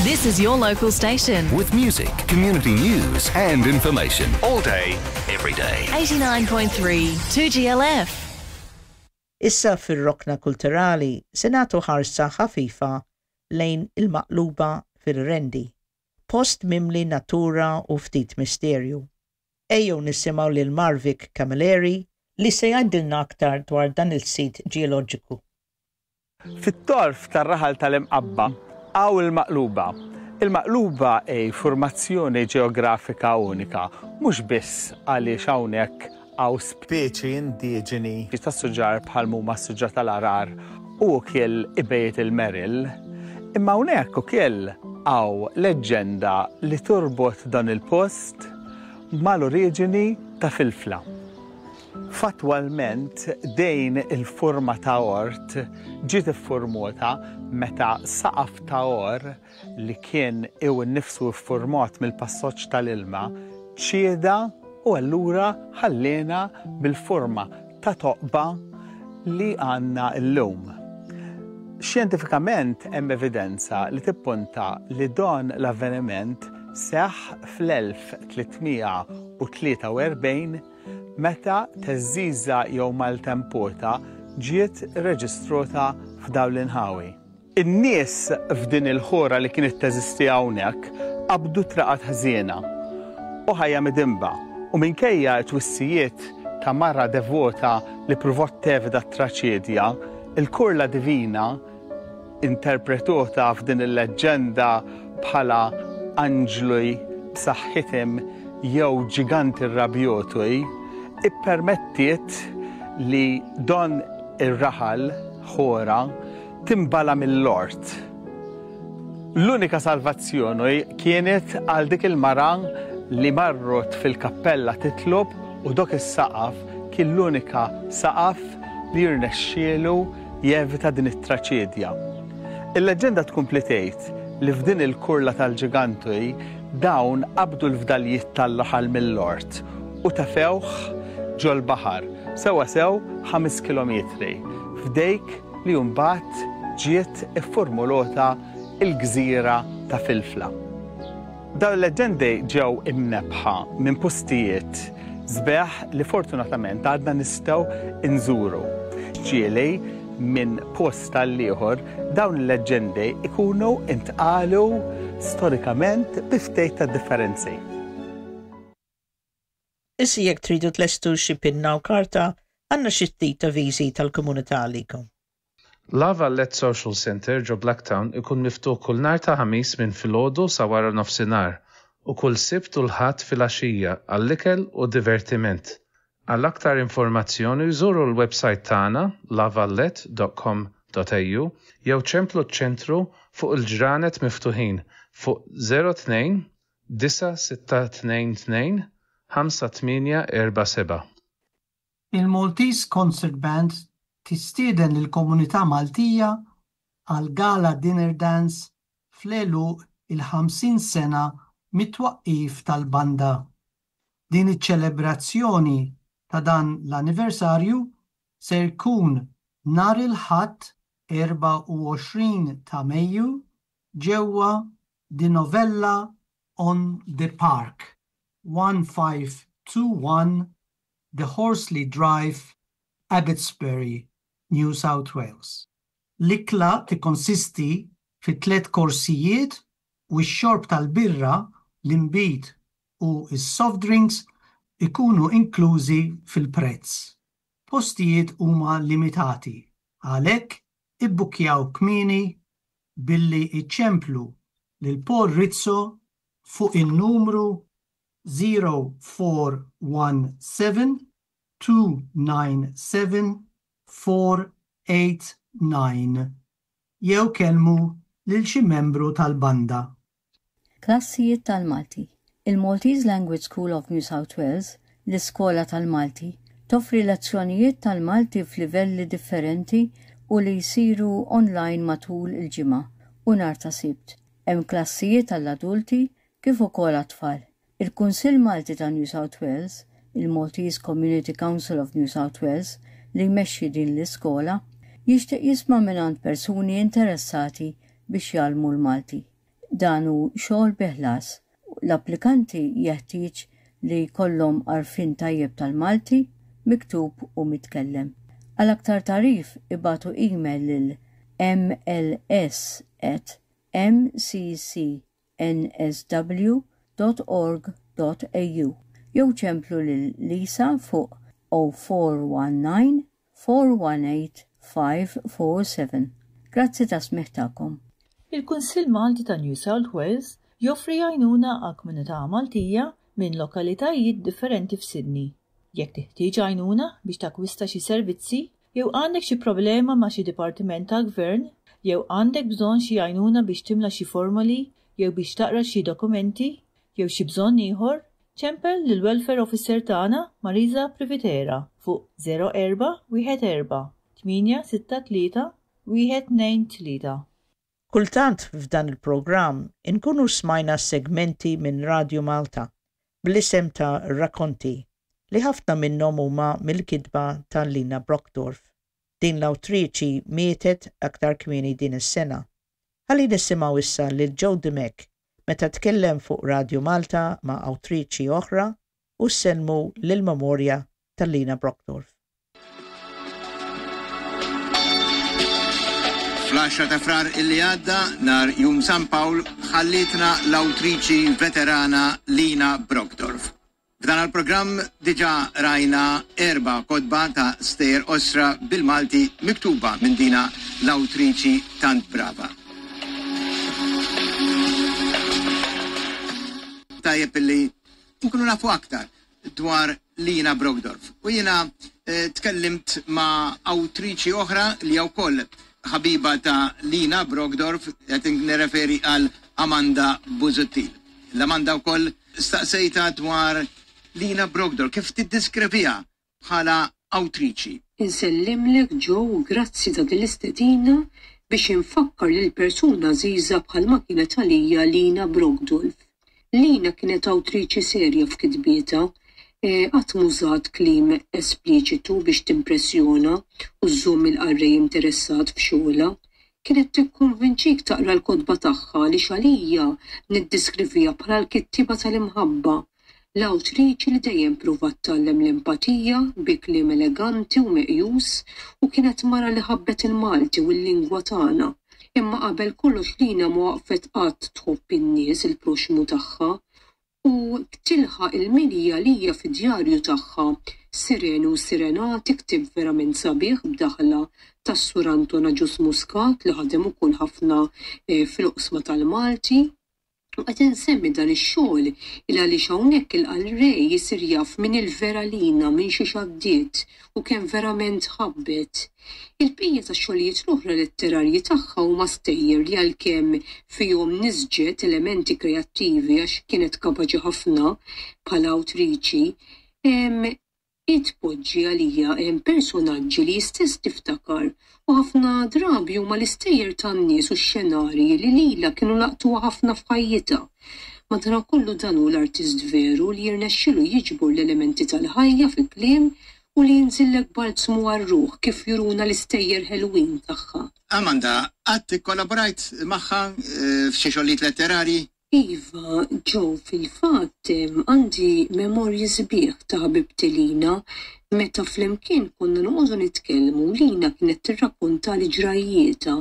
This is your local station. With music, community news, and information all day, every day. 89.3 2GLF. Issa fir-rokna kulturali se nagħtu ħarsa ħafifa lejn il-Maqluba fir-Rendi. Post mimli natura u ftit misterju. Ejjew nisimgħu lil Marvic Camilleri li se jgħidilna aktar dwar dan il-sit ġeoloġiku. Fit-tarf tar-raħal tal-Imqabba hawn il-Maqluba. Il-Maqluba hi formazzjoni ġeografika unika, mhux biss għaliex hawnhekk hawn speċi indiġeni ta' suġar bħal huma s-suġar tal-għargħar u wkoll ibejjet il-meril, imma hawnhekk ukoll hawn leġġenda li torbot dan il-post mal-oriġini ta' Filfla. Fattwalment din il-forma ta' ort ġiet iffurmota meta saqaf ta' or li kien iw innifsu iffurmat mill-passoġġ tal-ilma ċieda u allura ħallina bil-forma ta' toqba li għandna llum. Xjentifikament hemm evidenza li tippunta li dan l-avveniment seħħ fl-1343 meta theżżiża jew maltempota ġiet reġistrota f'dawn l-inħawi. In-nies f'din il-ħora li kienet teżisti hawnhekk qabdu traqat ħżiena u ħajja midinba u minkejja t-twissijiet ta' mara devota li pruvat tevita t-traċedja, il-kurla divina interpretota f'din il-leġġenda bħala anġli b'saħħithom jew ġiganti rrabjoti, ippermettiet li don ir-raħal ħora timbala mill-ort. L-unika salvazzjoni kienet għal dik il-mara li marrot fil-kappella titlob u dok is-saqaf kien l-unika saqaf li jirnexxielu jevita din it-traċedja. Il-leġġenda tkompli tgħid li f'din il-kurla tal-ġiganti dawn qabdu l-fdalijiet tal-raħal mill-ort u tefewh ġol-baħar, sewwasew 5 kilometri, f'dejk li mbagħad ġiet iffurmulota l-gżira ta' Filfla. Dawn il-leġġendi ġew imnebbħa minn postijiet sbieħ li fortunatament għadna nistgħu nżuru. Ġieli minn post għal ieħor dawn il-leġġendi ikunu intqalu storikament bi ftit ta' differenzi. Issa jekk tridu tlestu xi pinna u karta, għandna xi ftit avviżi tal-komunità għalikom. La Valette Social Centre ġo Blacktown ikun miftuħ kull nhar ta' Ħamis minn filgħodu sa wara nofsinhar u kull Sibt u l-Ħadd filgħaxija għall-ikel u divertiment. Għal aktar informazzjoni żuru l-website tagħna lavallette.com.au jew ċemplu ċ-ċentru fuq il-ġranet miftuħin fuq 02 9622 5847. Il-Maltese Concert Band tistieden lill-komunità Maltija għal Gala Dinner Dance fl-għeluq il-50 sena mit-twaqqif tal-banda. Din iċ-ċelebrazzjoni ta' dan l-anniversarju ser jkun nhar il-Ħadd 24 ta' Mejju ġewwa The Novella on the Park, 1521 The Horsley Drive, Abbotsbury, New South Wales. L-ikla tikkonsisti fi tliet korsijiet u x-xorb tal-birra, l-inbid u s-soft drinks ikunu inklużi fil-prezz. Postijiet huma limitati, għalhekk ibbukkjaw kmieni billi iċċemplu lil Paul Rizzo fuq in-numru 0417 297 489 jew kellmu lil xi membru tal-banda. Klassijiet tal-Malti. Il-Maltese Language School of New South Wales, l-Iskola tal-Malti, toffri lezzjonijiet tal-Malti f'livelli differenti u li jsiru online matul il-ġimgħa u nhar ta' Sibt. Hemm klassijiet għall-adulti kif ukoll għat-tfal. Il-Kunsill Malti ta' New South Wales, il-Maltese Community Council of New South Wales, li jmexxi din l-iskola, jixtieq jisma' mingħand persuni interessati biex jgħallmu l-Malti. Dan hu xogħol bi ħlas. L-applikanti jeħtieġ li jkollhom għarfien tajjeb tal-Malti, miktub u mitkellem. Għal aktar tagħrif ibagħtu email lil mls at mcc nsw dot org dot au jew ċemplu lil Lisa fuq 0419 418 547. Grazzi tas-smigħ tagħkom. Il-Kunsill Malti ta' New South Wales joffri għajnuna għall-komunità Maltija minn lokalitajiet differenti f'Sydney. Jekk teħtieġ għajnuna biex takkwista xi servizzi jew għandek xi problema ma' xi dipartiment tal-gvern jew għandek bżonn xi għajnuna biex timla xi formoli jew biex taqra xi dokumenti jew xi bżonn ieħor, ċempel lill-Welfare Officer tagħna Marisa Privitera fuq 04 14 863 123. Kultant f'dan il-programm inkunu smajna segmenti minn Radju Malta bl-isem ta' Rakkonti li ħafna minnhom huma mill-kitba ta' Lina Brockdorff. Din l-awtriċi mietet aktar kmieni din is-sena. Ħalli nisimgħu issa lil Joe Dimech meta tkellem fuq Radju Malta ma' awtriċi oħra u sellmu lill-memorja ta' Lina Brockdorff. Fl-10 ta' Frar illi għadda, nhar Jum San Pawl, ħallietna l-awtriċi veterana Lina Brockdorff. F'dan il-programm diġà rajna erba' kotba ta' stejjer qosra bil-Malti miktuba minn dina l-awtriċi tant brava. Tajjeb illi nkunu nafu aktar dwar Lina Brockdorff. U jiena tkellimt ma' awtriċi oħra li hija wkoll ħabiba ta' Lina Brockdorff, qed nirreferi għal Amanda Busuttil. L-Amanda wkoll staqsejtha dwar Lina Brockdorff, kif tiddeskriviha bħala awtriċi. Insellimlek Joe u grazzi ta' din l-istedina biex infakkar lil persuna għażiża bħalma kienet għalija Lina Brockdolff. Lina kienet awtriċi serja f'kitbietha. Qatt m'użat kliem espliċitu biex timpressjona u żżomm il-qarrej interessat f'xogħolha. Kienet tikkonvinċik taqra l-kotba tagħha għaliex għalija niddeskriviha bħala l-kittieba tal-imħabba. L-awtriċi li dejjem pruvat tgħallem l-empatija bi kliem eleganti u meqjus u kienet mara li ħabbet il-Malti u l-lingwa tagħna. Imma qabel kollox Lina ma waqfet qatt tħobb in-nies, il-proxxmu tagħha. U tilħaq il-milja għalija fid-djarju tagħha Sireni u Sirenati, ktieb verament sabiħ b'daħla tas-Sur Anton Agius Muscat li ħadem ukoll ħafna fil-oqsma tal-Malti. U qed insemmi dan ix-xogħol il għaliex hawnhekk il-qarrej isir jaf min il-vera Lina, minn xiex għaddiet u kemm verament ħabbet. Il-bqija tax-xogħlijiet l-oħra letterarji tagħha huma stejjer li għalkemm fihom nisġet elementi kreattivi għax kienet kapaċi ħafna bħala awtriċi, Hi tpoġġi għalija hemm personaġġi li hi stess tiftakar u ħafna drabi huma l-istejjer tan-nies u x-xenarji li lilha kienu laqtuha ħafna f'ħajjitha. Madanakollu dan hu l-artist veru li jirnexxilu jiġbor l-elementi tal-ħajja fi kliem u li jinżillek balzmu għar-ruħ kif juruna l-istejjer ħelwin tagħha. Amanda, qatt ikkollaborajt magħha f'xi xogħlijiet letterarji? Iva, Joe, fil-fatt għandi memorji sbieħ ta' ħabibti Lina. Meta flimkien konna noqogħdu nitkellmu, Lina kienet tirrakkontali ġrajjietha.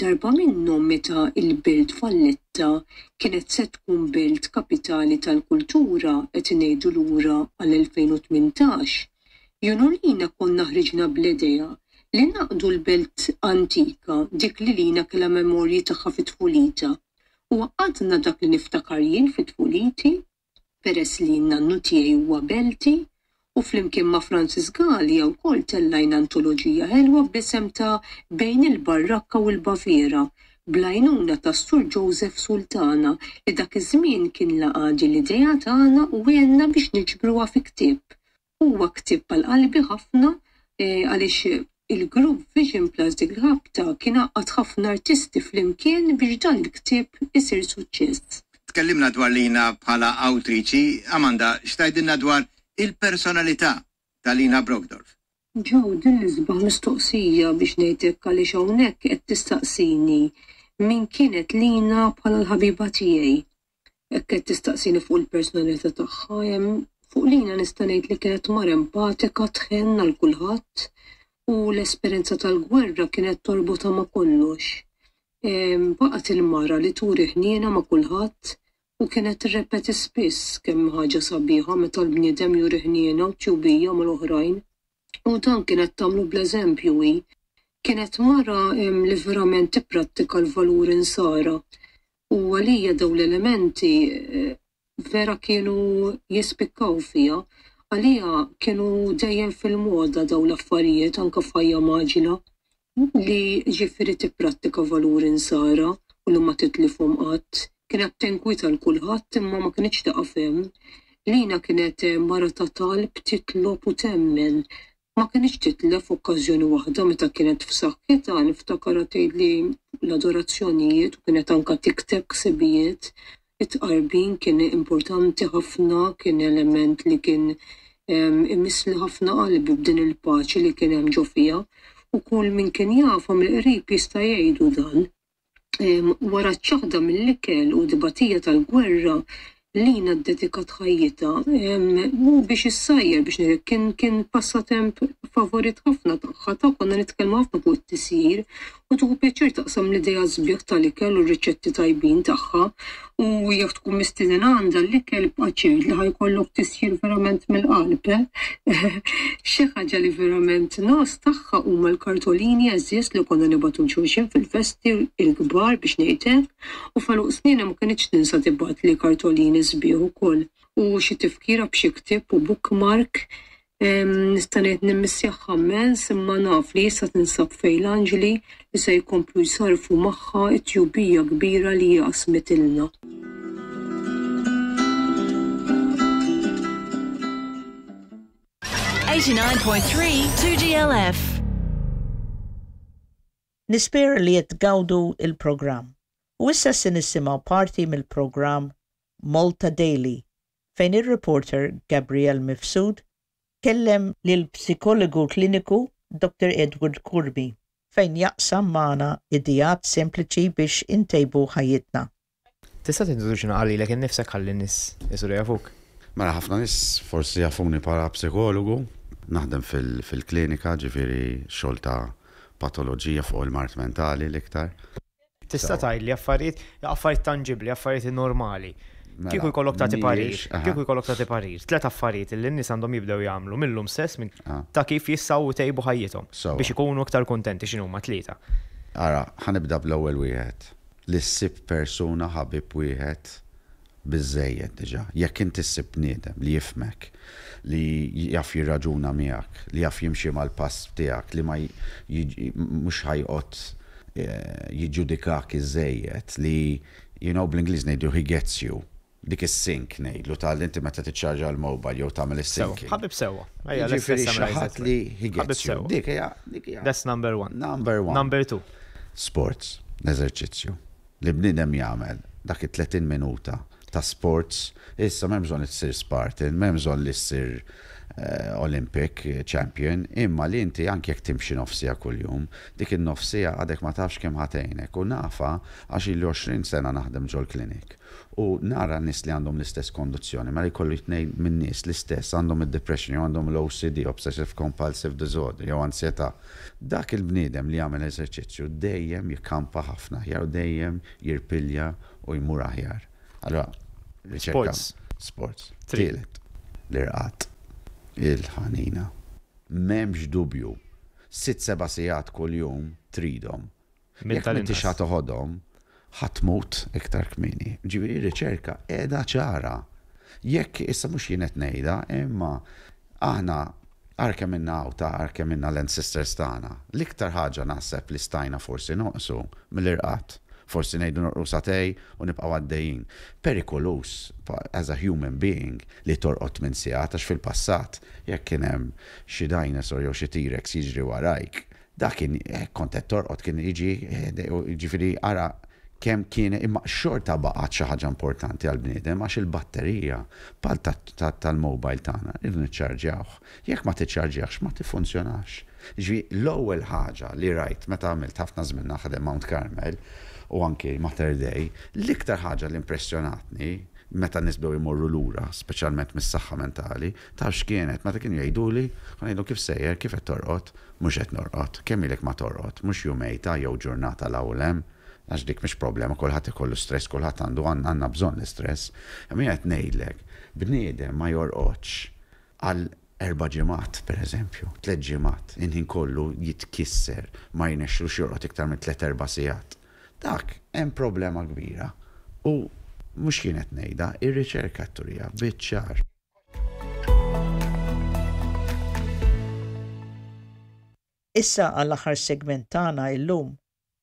Darba minnhom meta l-Belt Valletta kienet se tkun belt kapitali tal-kultura, qed ngħidu lura għal-2018, jien u Lina konna ħriġna bl-idea li ngħaqqdu l-belt antika, dik li Lina kellha memorji tagħha fi tfulitha. U għaqqadna dak li niftakar jien fi tfuliti, peress li n-nannu tiegħi huwa Belti, u flimkien ma' Francis Galea wkoll tellajna antoloġija ħelwa bl-isem ta' Bejn il-Barrakka u l-Baviera, bl-għajnuna tas-Sur Joseph Sultana li dak iż-żmien kien laqa' din l-idea tagħna u għenna biex niġbruha fi ktieb. Huwa ktieb għal qalbi ħafna għaliex il-grupp Vision Plus dik il-ħabta kien għaqqad ħafna artisti flimkien biex dan il-ktieb isir suċċess. Tkellimna dwar Lina bħala awtriċi, Amanda, x'tgħidilna dwar il-personalità ta' Lina Brockdorff? Joe, din l-isbaħ mistoqsija biex ngħid hekk għaliex hawnhekk qed tistaqsini. Min kienet Lina bħala l-ħabiba tiegħi? Hekk qed tistaqsini fuq il-personalità tagħha, fuq Lina nista' ngħid li kienet mara empatika, tħenn għal kulħadd u l-esperjenza tal-gwerra kienet torbotha ma' kollox. Baqgħet il-mara li turi ħniena ma' kulħadd u kienet tirrepeti spiss kemm hi ħaġa sabiħa meta l-bniedem juri ħniena u tjubija mal-oħrajn. U dan kienet tagħmlu bl-eżempju hi. Kienet mara li verament tipprattika l-valuri Nsara. U għalija dawn l-elementi vera kienu jispikkaw fiha. Għalija kienu dejjem fil-moda dawn l-affarijiet anke f'ħajja mgħaġġla. Li jiġifieri tipprattika valuri Nsara u li ma titlifhom qatt. Kienet tinkwieta 'l kulħadd imma ma kinitx tieqaf hemm. Lina kienet mara ta' talb, titlob u temmen. Ma kinitx titlef okkażjoni waħda meta kienet f'saħħitha, niftakarha tgħidli fuq l-adorazzjonijiet u kienet anke tikteb ħsibijiet. It-tqarbin kien importanti ħafna, kien element li kien imissli ħafna qalbi b'din il-paċi li kien hemm ġo fiha u kull min kien jafha mill-qrib jista' jgħidu dan. Wara ċ-ċaħda mill-ikel u t-tbatija tal-gwerra, Lina ddedikat ħajjitha biex issajjar biex ngħidlek kien kien passatemp favorit ħafna tagħha ta' konna nitkellmu ħafna fuq it-tisjir u tieħu pjaċir taqsam l-ideat sbieħ tal-ikel u r-riċetti tajbin tagħha u jekk tkun mistieden għandha l-ikel ibqa' ċert li ħa jkollok tisjir verament mill-qalb eh. Xi ħaġa li verament ngħożż tagħha huma l-kartolini għeżież li konna nibagħtu 'l xulxin fil-festi l-kbar biex ngħid hekk. U f'għeluq sninha ma kinitx tinsa tibgħatli kartolini sbieħ ukoll u xi tifkira b'xi ktieb u bookmark. Nista' ngħid nimmissjaha mmens imma naf li issa tinsab fejn l-anġli li se jkomplu jsarrfu magħha t-tjubija kbira li hi qasmitilna. 89.3 2GLF. Nispera li qed tgawdu l-programm. U issa se nisimgħu parti mill-programm Malta Daily fejn ir-reporter Gabrielle Mifsud kellem lill-psikologu kliniku Dottor Edward Curmi fejn jaqsam magħna ideat sempliċi biex intejbu ħajjitna. Tista' tintroduċina naqra lilek innifsek ħalli n-nies isiru jafuk? Mela ħafna nies forsi jafuni bħala psikologu, naħdem fil-klinika, ġifieri xogħol ta' patoloġija fuq il-mard mentali l-iktar. Tista' tgħidli affarijiet, affarijiet tanġibbli, affarijiet normali. Mela, Kieku jkollok tagħti parir, mhijiex, aha. kieku jkollok tagħti parir, tlet affarijiet li n-nies għandhom jibdew jagħmlu mil-lum stess minn Ah. ta' kif jistgħu jtejbu ħajjithom Sewwa. biex ikunu iktar kuntenti x'inhuma tlieta. Ara, ħa nibda bl-ewwel wieħed. Li ssib persuna, ħabib wieħed, biżżejjed diġà. Jekk inti ssib bniedem li jifhmek, li jaf jirraġuna miegħek, li jaf jimxi mal-pass tiegħek, li ma mhux ħa joqgħod jiġġudikak iżżejjed, li you know bl-Ingliż ngħidu he gets you. Dik is-sync ngħidlu ta' li inti meta tiċċarġa l-mobile jew tagħmel is-syncing. Sewa, ħabib sewa. Ejja, let's Jiġifieri xi summarize ħadd that li way. he Ħabib gets you. sewa. Dik hija, dik hija. That's number one. Number one. Number two. Sports, l-eżerċizzju. Li bniedem jagħmel dak it-30 minuta ta' sports, issa m'hemm bżonn li ssir Spartan, m'hemm bżonn li ssir Olympic champion, imma li inti anke jekk timxi nofs siegħa kuljum, dik in-nofs siegħa għadek ma tafx kemm ħa tgħinek u nafha għax ili 20 sena naħdem ġol-clinic u nara nies li għandhom l-istess kondizzjoni, mela jkollu jtnejn min-nies l-istess għandhom id-depression jew għandhom l-OCD, Obsessive Compulsive Disorder, jew ansjetà. Dak il-bniedem li jagħmel eżerċizzju dejjem jikkampa ħafna aħjar u dejjem jirpilja u jmur aħjar. Allura, riċerka. Sports. Sports. Tielet, l-irqad. Il-ħanina. M'hemmx dubju. Sitt seba' sigħat kuljum tridhom. Minn Jekk m'intix tal-inqas. ħa toħodhom, ħa tmut iktar kmieni. Ġifieri r-riċerka qiegħda ċara. Jekk, issa mhux jien qed ngħidha, imma aħna ara kemm ilna hawn ta' ara kemm ilna l-ancestors tagħna. L-iktar ħaġa naħseb li stajna forsi noqsu mill-irqad. Forsi ngħidu norqu sagħtej u nibqgħu għaddejjin. Perikoluż as a human being li torqod tmien sigħat għax fil-passat jekk kien hemm xi dinosaur jew xi T-Rex jiġri warajk, dak kien hekk kont qed torqod kien jiġi jiġifieri ara kemm kien imma xorta baqgħet xi ħaġa importanti għall-bniedem għax il-batterija bħal tal-mobile tagħna rridu niċċarġjawh. Jekk ma tiċċarġjahx ma tiffunzjonax. Jiġifieri l-ewwel ħaġa li rajt meta għamilt ħafna żmien naħdem Mount Carmel. u anki Mater Dei, l-iktar ħaġa li impressjonatni meta n-nies bdew imorru lura, speċjalment mis-saħħa mentali, taf x'kienet, meta kienu jgħiduli, kont ngħidlhom kif sejjer, kif qed torqod? Mhux qed norqod. Kemm ilek ma torqod? Mhux jumejn ta' jew ġurnata 'l hawn u 'l hemm. Għax dik mhix problema, kulħadd ikollu stress, kulħadd għandu, għandna bżonn l-istress. Imma jien qed ngħidlek, bniedem ma jorqodx għal erba' ġimgħat, pereżempju, tlett ġimgħat, il-ħin kollu jitkisser, ma jirnexxilux jorqod iktar minn tlett erba' sigħat. Dak hemm problema kbira. U mhux jien qed ngħidha, ir-riċerka qed turiha biċ-ċar. Issa għall-aħħar segment tagħna illum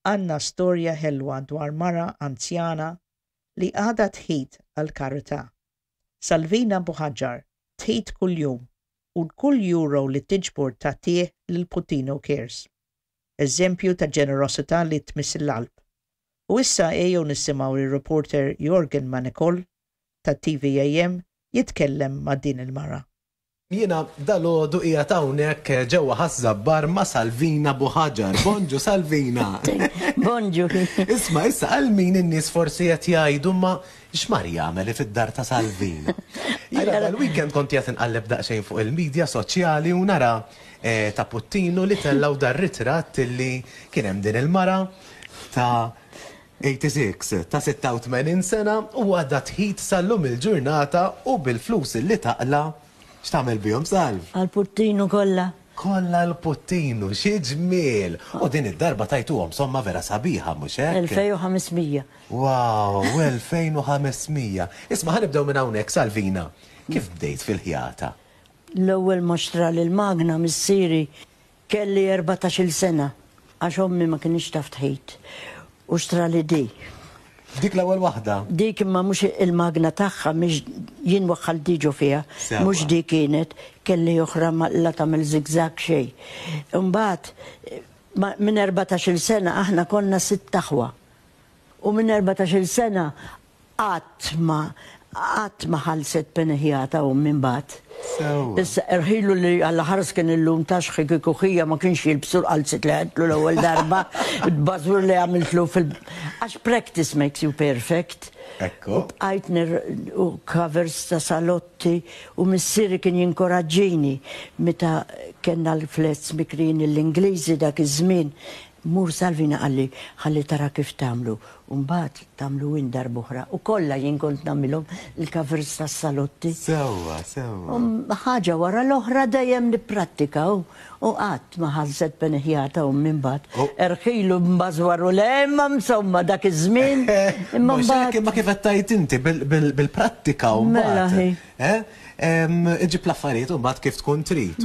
għandna storja ħelwa dwar mara anzjana li għadha tħit għall-karità. Salvina Buhagiar tħit kuljum u kull euro li tiġbor tagħtih lil Puttinu Cares. Eżempju ta' ġenerosità li tmiss il-qalb. U issa ejjew nisimgħu lir-reporter Yorgen Manicol ta' TVAM jitkellem ma' din il-mara. Jiena dalgħodu qiegħed hawnhekk ġewwa Ħaż-Żabbar ma' Salvina Buħaġar. Bonġu Salvina! Bonġu! Isma' issa għal min in-nies forsi qed jgħidu imma x'mar jagħmel fid-dar ta' Salvina? Jiena dal-weekend kont qiegħed inqalleb daqsxejn fuq il-media soċjali u nara ta' Puttinu li tellgħu dar-ritratt illi kien hemm din il-mara ta' 86, ta' 86 sena u għadha tħit sal-lum il-ġurnata u bil-flus illi taqla' x'tagħmel bihom Salv? Għall-Puttinu kollha. Kollha għall-Puttinu, xi ġmiel! U din id-darba tajtuhom somma vera sabiħa, mhux hekk? 2500. Wow, 2500! Isma' ħa nibdew minn hawnhekk Salvina. Kif bdejt fil-ħjata? L-ewwel ma xtrali l-magna missieri Kelli 14-il sena għax ommi ma kinitx taf tħit u xtrali di. Dik l-ewwel waħda? Dik imma mhux il-magna tagħha mhix jien waħħalt di ġo fiha. Sewwa. Mhux di kienet, kelli oħra ma la tagħmel zigzag xejn. Imbagħad minn 14-il sena aħna konna sitt aħwa. U minn 14-il sena Qatt ma, qatt ma ħallset peni ħjata ommi mbagħad. Sewwa. Issa erħilu li Alla ħares kien illum tax ħi kieku ħija ma kienx jilbsu l-qalziet li għedtlu l-ewwel darba, il-bażwur li għamiltlu fil għax practice makes you perfect. Ekku. U bqajt nir u covers ta' salotti u missieri kien jinkoraġġini meta kellna l-flats mikrijin lill-Ingliżi dak iż-żmien. Mur Salvina qalli ħalli tara kif tagħmlu u mbagħad tagħmlu int darb'oħra. U kollha jien kont nagħmilhom il-covers tas-salotti. Sewwa, sewwa. U ħaġa wara l-oħra dejjem nipprattika u u qatt ma ħallset beni ħjata ommi mbagħad. Erħilu mbażwar u le imma insomma dak iż-żmien imma Mhux hekk mbagħad. imma kif qed tgħid inti bil-prattika u Mela mbagħad. hi. Eh? Iġġib l-affarijiet u mbagħad kif tkun trid.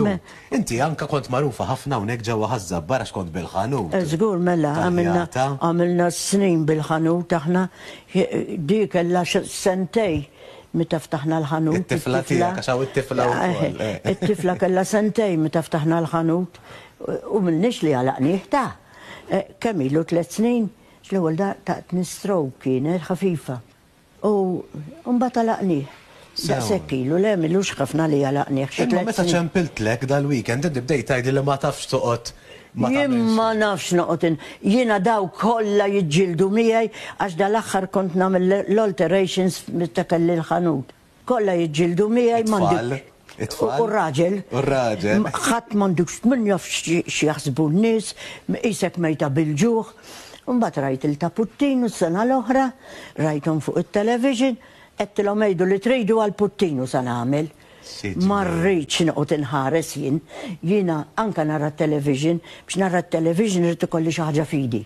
Inti anke kont magħrufa ħafna hawnhekk ġewwa Ħaż-Żabbar għax kont bil-ħanut. Żgur mela, għamilna għamilna snin bil-ħanut aħna. Di kellha sentej meta ftaħna l-ħanut. It-tifla tiegħek għax hawn it-tifla wkoll. It-tifla kellha sentej meta ftaħna l-ħanut u m'ilniex li għalaqnieh ta'. Kemm ilu tlett snin? L-ewwel taqtni stroke kienet ħafifa. U mbagħad għalaqnieh. Daqshekk ilu, le m'ilux ħafna li għalaqnieh, xi Imma tlett meta snin. ċempiltlek dal-weekend inti bdejt tgħidli li ma tafx toqgħod ma Jien tagħmel ma xejn. nafx noqgħod in. Jiena dawk kollha jiġġieldu miegħi għax dal-aħħar kont nagħmel l-alterations meta kelli l-ħanut. Kollha jiġġieldu miegħi It-tfal? m'għandix. It-tfal? U r-raġel. U r-raġel. Ħadd m'għandux min jaf x'jaħsbu n-nies, qisek mejta bil-ġuħ. Imbagħad rajt il ta' Puttinu s-sena l-oħra, rajthom fuq it-television, għedtilhom għidu li tridu għal Puttinu sa nagħmel. Ma rridx noqgħod inħares jien. Jiena anke nara t-television, biex nara t-television irid ikolli xi ħaġa f'idi.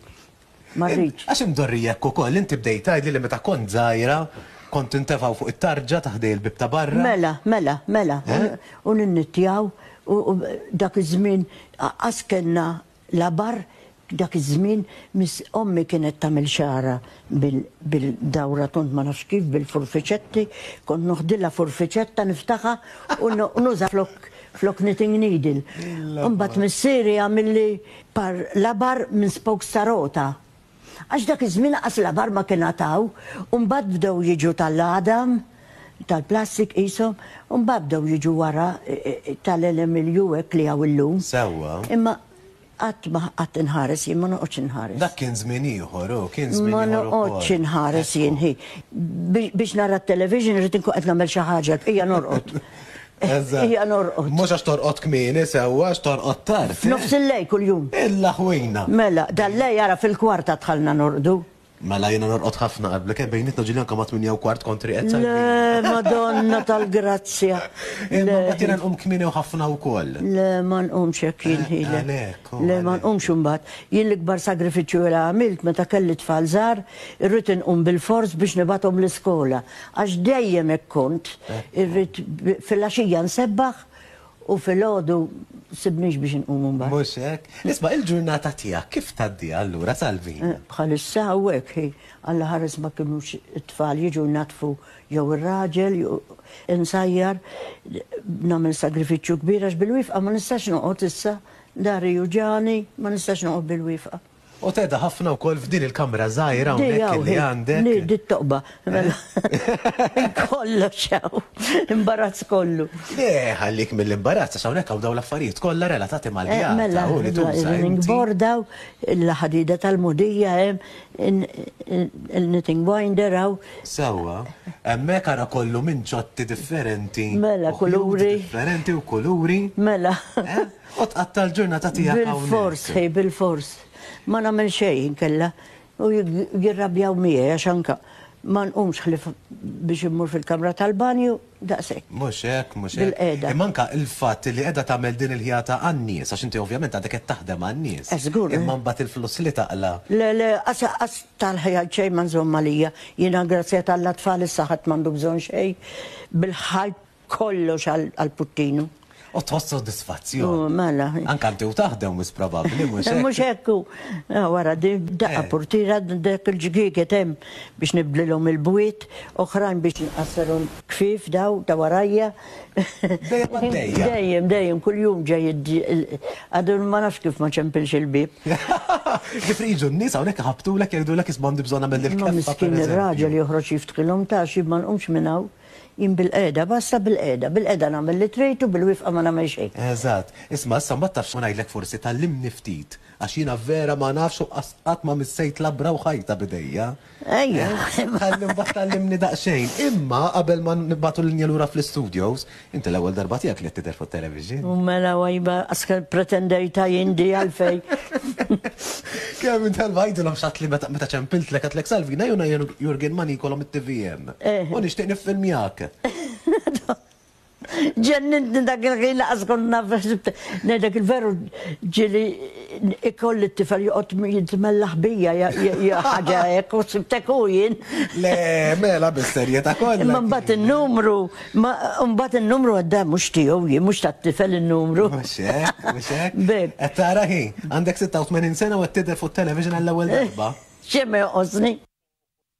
Ma rridx. Għax imdorrija hekk ukoll, inti bdejt tgħidli li meta kont żgħira kont tintefgħu fuq it-tarġa ta' ħdej il-bieb ta' barra. Mela, mela, mela. U ninnittjaw u dak iż-żmien qas kellna Labar dak iż-żmien miss ommi kienet tagħmel xagħarha bil bil-dawra tond ma nafx kif bil-furfiċetti, kont noħdilha furfiċetta niftaħha u nuża flok flok knitting needle. Imbagħad missieri għamilli par labar minn spokes ta' rota. Għax dak iż-żmien qas labar ma kien għad hawn u mbagħad bdew jiġu tal-għadam, tal-plastik qishom, u mbagħad bdew jiġu wara tal-LMLU hekk li hawn illum. Sewwa. Imma. Qatt ma qatt inħares jien ma noqgħodx inħares. Dak kien żmien ieħor, hu, kien żmien Ma ieħor ukoll. noqgħodx inħares jien hi. Biex nara t-television irrid inkun qed nagħmel xi ħaġa, l-bqija norqod. Eżatt. Ejja norqod. Mhux għax torqod kmieni sewwa, għax torqod tard. eh? F'nofs il-lejl kuljum. Il-laħwina. Mela, dal-lejl ara fil-kwarta dħalna norqdu. Mela jiena norqod ħafna qablek, eh, bejnietna ġieli anke ma' 8:15 kont rieqed Le, sal-ħin. Madonna tal-grazzja. Imma Le. mbagħad jiena nqum kmieni u ħafna wkoll. Le, ma nqumx hekk jien ħi, le. Għalhekk, u Le, ma għalhekk. nqumx imbagħad. Jien l-ikbar sagrifiċċju li għamilt meta kelli tfal żgħar, irrid inqum bilfors biex nibgħathom l-iskola. Għax dejjem hekk kont, irrid filgħaxija nsebbaħ u filgħodu sibnix biex inqum imbagħad. Mhux hekk? Isma' il-ġurnata tiegħek kif tgħaddiha allura Salvina? Bħalissa hawnhekk hi, Alla ħares ma kinux it-tfal jiġu jnaddfu jew ir-raġel jew insajjar, nagħmel sagrifiċċju kbir għax bil-wifqa ma nistax noqgħod issa, dari juġagħni, ma nistax noqgħod bil-wifqa. U tgħedha ħafna wkoll f'din il-kamra żgħira hawnhekk li għandek. Di, di t-toqba. Mela. Kollox hawn. Imbarazz kollu. Le, ħallik mill-imbarazz għax hawnhekk hawn dawn l-affarijiet kollha relatati mal-ħjata eh, mela, u li tuża. Il-running board hawn, il-ħadida tal-mudija hemm, il-knitting winder hawn. Sewwa, hemmhekk ara kollu minn ċotti differenti. Mela, kuluri. Differenti u kuluri. Mela. Eh? U tqatta' l-ġurnata tiegħek hawnhekk. Bilfors, hi, bilfors. Ma nagħmel xejn inkella. U jirrabjaw miegħi għax anka ma nqumx ħlief biex immur fil-kamra tal-banju, daqshekk. Mhux hekk, mhux hekk. Bilqiegħda. Imma anka l-fatt li qiegħda tagħmel din il-ħjata għan-nies, għax inti ovvjament għadek qed taħdem għan-nies. Eh, żgur. Imma mbagħad il-flus li taqla'. Le, le, qas qas tal-ħjat xejn ma nżomm għalija. Jiena grazzja t'Alla tfal issa ħadd m'għandu bżonn xejn. Bil-ħajt Kollox għall-puttinu. U tħoss sodisfazzjon. U mela. Anke inti u taħdem wis probabbli, mhux hekk? Mhux hekk hu. Wara din daqqa purtiera dak il-ġgieket hemm biex nibdlilhom il-bwiet, oħrajn biex nqassarhom kfief daw ta' warajja. Dejjem għaddejja. Dejjem, dejjem, kuljum ġej għadu ma nafx kif ma ċempilx il-bieb. Kif jiġu n-nies hawnhekk iħabbtulek jgħidulek isma' għandi bżonn nagħmel il-keffa. Ma miskin ir-raġel joħroġ jiftħilhom ta' xi ma nqumx minn hawn. Jien bilqiegħda, basta bilqiegħda. Bilqiegħda nagħmel li trid u bilwieqfa ma nagħmel xejn. Eżatt. Isma' issa mbagħad taf x'ma ngħidlek forsi tgħallimni ftit għax jiena vera ma nafx u qas qatt ma missejt labra u ħajta b'idejja. Ejja. Ħalli mbagħad tgħallimni daqsxejn. Imma qabel ma nibagħtu l-linja lura fl-istudios, inti l-ewwel darba tiegħek li qed tidher fuq it-television. U mela wajba qas pretendejtha jien di għalfejn. Kemm darba għidilhom x'għadtli meta ċempiltlek għedtlek Salvina jiena Jurgen Manicolo mit-TVM. U nixtieq niffilmjak. Ġennintni dak il-ħin laqas kont naf ngħidlek il-veru ġieli ikolli t-tifel joqgħod jitmellaħ bija ħaġa hekk u sibtek hu jien. Le, mela bis-serjetà kollha. Imma mbagħad in-numru, mbagħad in-numru għadda mhux tiegħu jien, mhux tat-tifel in-numru. Mhux hekk, mhux hekk. Qed tara hi, għandek 86 sena u qed tidher fuq television għall-ewwel darba. Xejn ma jonqosni.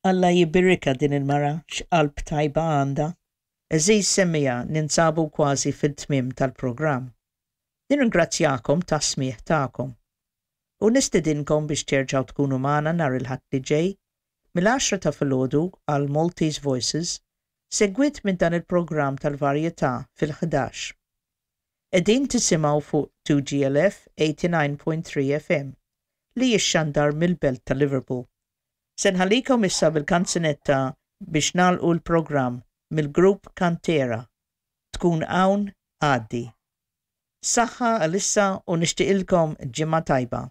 Alla jibirikha din il-mara x'qalb tajba għandha. Għeżież semmiegħa ninsabu kważi fil-tmiem tal-programm. Nirringrazzjakom tas-smigħ tagħkom. U nistedinkom biex terġgħu tkunu magħna nhar il-Ħadd li ġej mill-għaxra ta' filgħodu għal Maltese Voices segwit minn dan il-programm tal-varjetà fil-ħdax. Qegħdin tisimgħu fuq 2GLF 89.3 FM li jixxandar mill-belt ta' Liverpool. Se nħallikom issa bil-kanzunetta biex nagħlqu l-programm mill-grupp Kantera, Tkun Hawn Għaddi. Saħħa għalissa u nixtieqilkom ġimgħa tajba.